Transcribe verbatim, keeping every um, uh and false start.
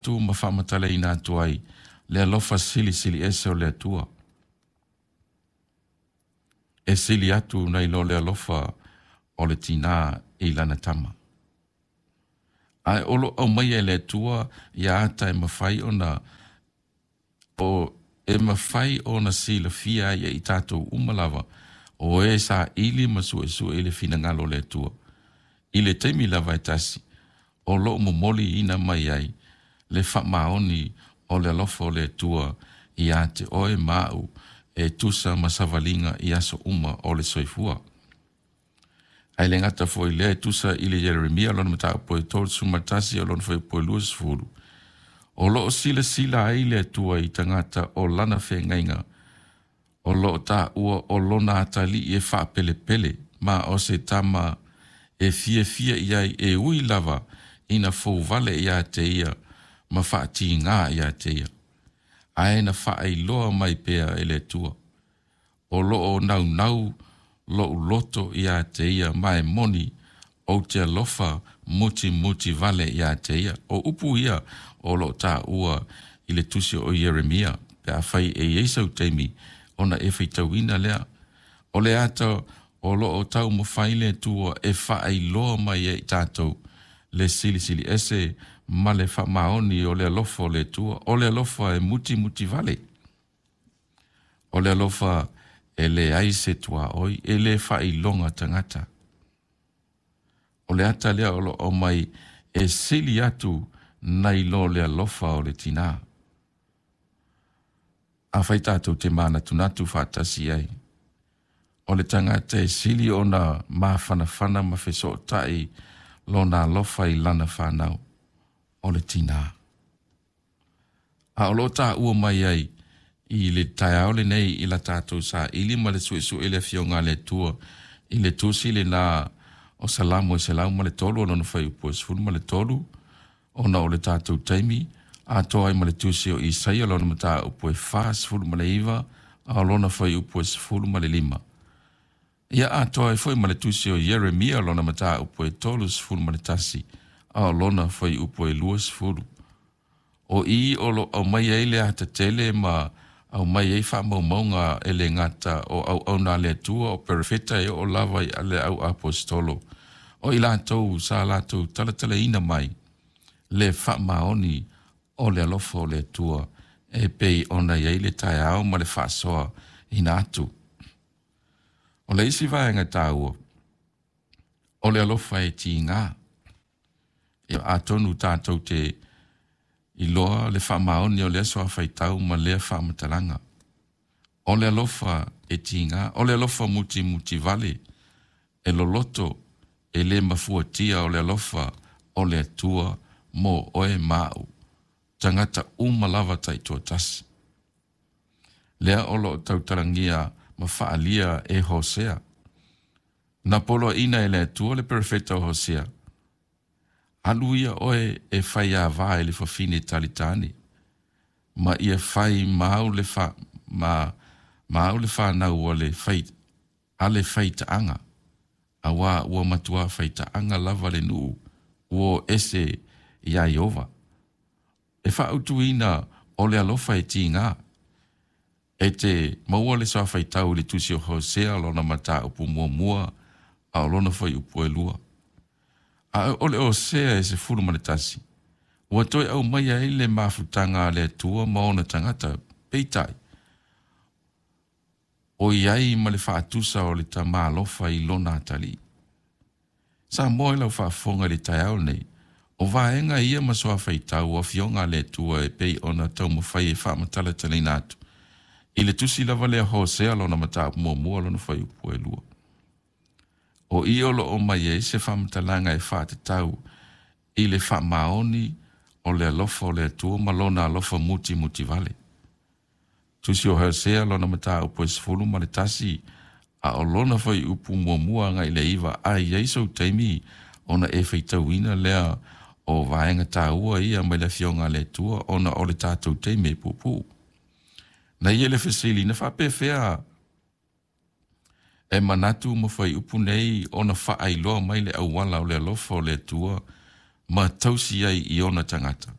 atu ma faamatalaina atu ai le alofa silisili ese o le Atua. E sili atu nai lo le alofa o le tinā i lana tama. Ae o lo o aumaia e le Atua ia ata e mafai ona o e mafai ona silafia ai e i tatou uma lava o e saili ma suesue i le finagalo o le Atua. I le taimi lava e tasi, o lo o momoliina mai ai le faamaoni o le alofa o le Atua ia te oe ma au e tusa ma savaliga i aso uma o le soifua. Ae le gata foi i lea e tusa i le Ieremia lona mataupu e tolu ma tasi o lona fuaiupu e luasefulu, o lo o silasila ai le Atua i tagata o lana feagaiga, o lo o taua o lona atalii e faapelepele, ma o se tama e fiafia i ai e ui lava ina fouvale ia te ia ma faatigā ia te ia. Ae na faailoa mai pea e le Atua, o lo o naunau lou loto ia te ia ma e moni ou te alofa mutimuti vale ia te ia. O upu ia o lo o taua i le tusi o Ieremia, pe afai e i ai sau taimi ona e faitauina lea. O le ata o lo o taumafai le Atua e faailoa mai e i tatou le silisili ese ma le faamaoni o le alofa o le Atua. O le alofa e mutimuti vale. O le alofa e leai se tuaoi, e le faailoga tagata. O le ata lea o lo o aumai e sili atu nai lo le alofa o le tinā. Afai tatou te manatunatu faatasi ai, o le tagata e sili ona mafanafana ma fesootai lona alofa i lana fanau, o le tinā. A o lo o taua mai ai i le taeao lenei i la tatou saili ma le suesue le afioga a le Atua i le tusi lena o Salamo e selau ma le tolu o lona fuaiupu e sefulu ma le tolu, ona o le tatou taimi, atoa ai ma le tusi o Isaia lona mataupu e fasefulu ma le iva, a o lona fuaiupu e sefulu ma le lima. Ia atoa ai foi ma le tusi o Ieremia lona mataupu e tolusefulu ma le tasi, a o lona fuaiupu e luasefulu. O i o lo o aumai ai le ata tele ma aumai ai faamaumauga e le gata o auauna a le Atua o perofeta e oo lava i le au aposetolo, o i latou sa latou talatalaina mai le faamaoni o le alofa o le Atua e pei ona i ai le taeao ma le faasoa ina atu. O le isi vaega taua, o le alofa e tigā. Atonu tatou te iloa le faamaoni o lea suafaitau ma lea faamatalaga. O le alofa e tigā, o le alofa mutimutivale, e loloto, e le mafuatia o le alofa o le Atua mo oe ma au, tagata uma lava taitoatasi. Lea o lo o tautalagia ma faaalia e Hosea. Na poloaiina e le Atua le perofeta o Hosea, alu ia oe e faiavā i le fafine talitane, ma ia fai ma au le fa, ma, ma au le fanau a le fai, a le faitaaga, auā ua matuā faitaaga lava le nuu ua o ese iā Ieova. E faautuina o le alofa e tigā. E te maua le suafaitau i le tusi o Hosea lona mataupu muamua a o lona fuaiupu e lua. A o le Hosea e sefulu ma le tasi, ua toe aumaia ai le mafutaga a le Atua ma ona tagata, peitai, o i ai ma le faatusa o le tama alofa i lona atalii. Samoa i lau faafofoga i le taeao lenei, o vaega ia ma suafaitau o afioga a le Atua e pei ona taumafai e faamatalatalaina atu i le tusi lava lea Hosea lona mataupu muamua lona fuaiupu e lua. O i o lo o aumai ai se faamatalaga e faatatau i le faamaoni o le alofa o le Atua ma lona alofa mutimutivale. Tusi o Hosea lona mataupu e sefulu ma le tasi, a o lona fuaiupu muamua agai i le iva, a i ai sou taimi ona e faitauina lea o vaega taua ia mai le afioga a le Atua ona o le tatou taimi e puupuu. Na ia le fesili, na faapefea e manatu ma fuaiupu nei ona faailoa mai le auala o le alofa o le Atua ma tausi ai i ona tagata.